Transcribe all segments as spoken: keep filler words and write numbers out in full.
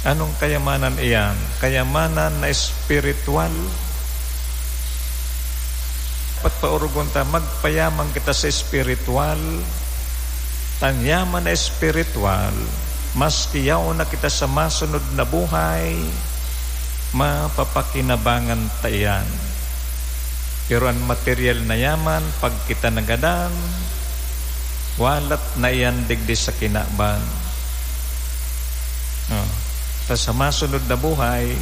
Anong kayamanan iyan? Kayamanan na espiritual. Dapat paorogon ta, magpayaman kita sa espiritual. An yaman na espiritual, maski yaon na kita sa masunod na buhay, mapapakinabangan ta iyan. Pero an material na yaman, pag kita nagadan, walat na iyan digdi sa kinaban. Oh. Ta sa masunod na buhay,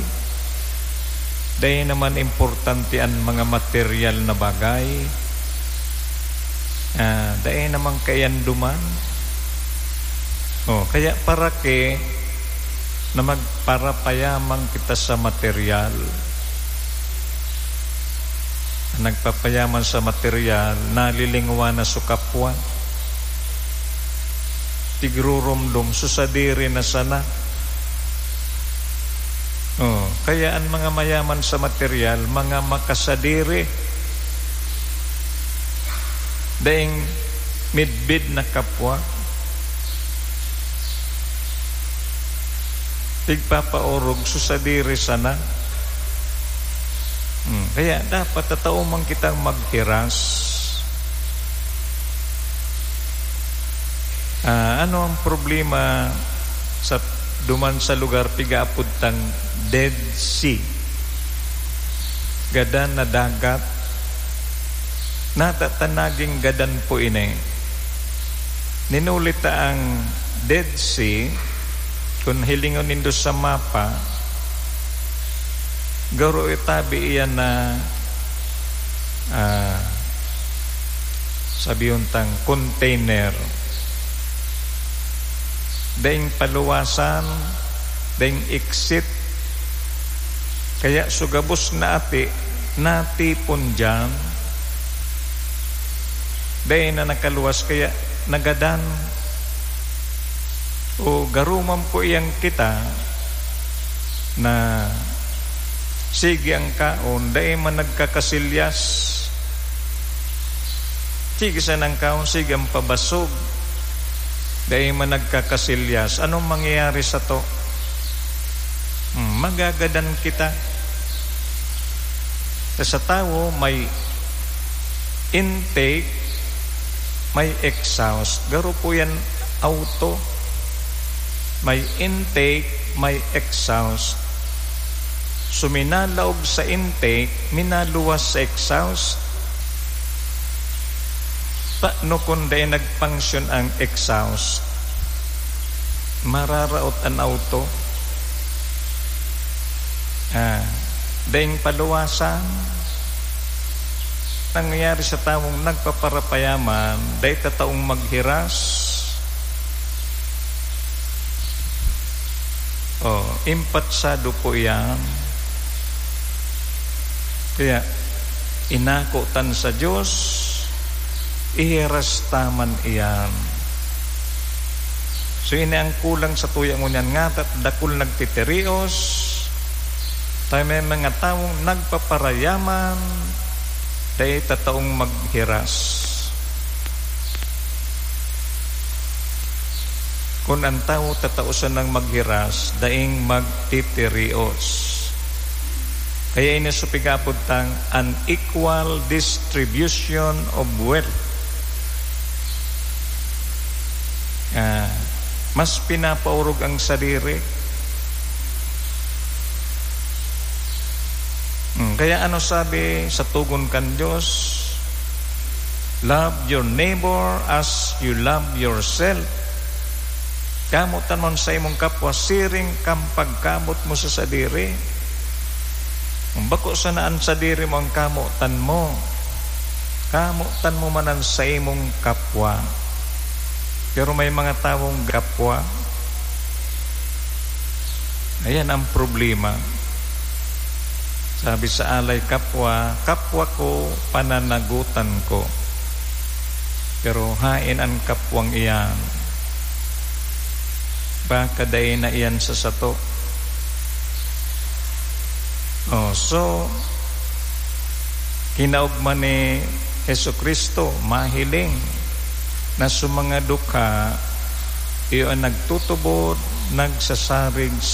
dai naman importante an mga material na bagay. Ah, dai naman kaiyan duman. Oh, kaya para ki na magparapayaman kita sa material. Nagpapayaman sa material, nalilingwa na sa kapwa. Tigrurumdom, sa sadiri na sana. Oh, kaya an mga mayaman sa material, mga makasadiri. Daing midbid na kapwa. Tigpapaorog sa sadiri sana. Hmm, kaya dapat tatao man kitang maghiras. Ah, ano ang problema sa, duman sa lugar pigaapod tang Dead Sea? Gadan na dagat. Nata ta naging gadan po ini. Ninuli ta ang Dead Sea, kun hilingon nindo sa mapa, garo itabi iyan na, ah, sabihon tang container. Daing paluwasan, daing exit. Kaya sa gabos na ati, natipon diyan. Dai na nakaluwas, kaya nagadan. O garo man po iyang kita na sige ang kaon, dai man nagkakasilyas. Sige sana ang kaon, sige ang pabasog. Dai man nagkakasilyas. Anong mangyayari sato? Hmm, magagadan kita. Sa tawo, may intake, may exhaust. Garo po yan auto. May intake, may exhaust. So, minalaog sa intake, minaluwas sa exhaust. Paano kung dai nag-function ang exhaust? Mararaot an auto. Ah, daing paluwasan. Nangyayari sa tawong nagpaparapayaman, dai ta taong maghiras. Oh, impatsado po iyan. Kaya, inako tan sa Dios, ihiras ta man iyan. So, ini ang kulang sa tuya ngunyan, ngata't dakul nagtitirios, ta may mga tawong nagpaparayaman, dai ta taong maghiras. Kun an tawo tatao sanang maghiras, daing magtitirios. Kaya ini sa pigapod tang unequal distribution of wealth. Ah, mas pinapaorog ang sadiri. Hmm, kaya ano sabi sa tugon kan Dios? "Love your neighbor as you love yourself." Kamotan mo an saimong kapwa siring kan pagkamot mo sa sadiri. Kung bako sana an sadiri mo an kamotan mo, kamotan mo man an saimong kapwa. Pero may mga tawong kapwa, ayan ang problema. Sabi sa alay kapwa, "Kapwa ko, pananagutan ko." Pero haen an kapwang iyan? Baka dai na iyan sa sato. Oh, so, kinaogma ni Jesu-Cristo, mahiling na sa mga dukha, iyo an nagtutubod, nagsasarig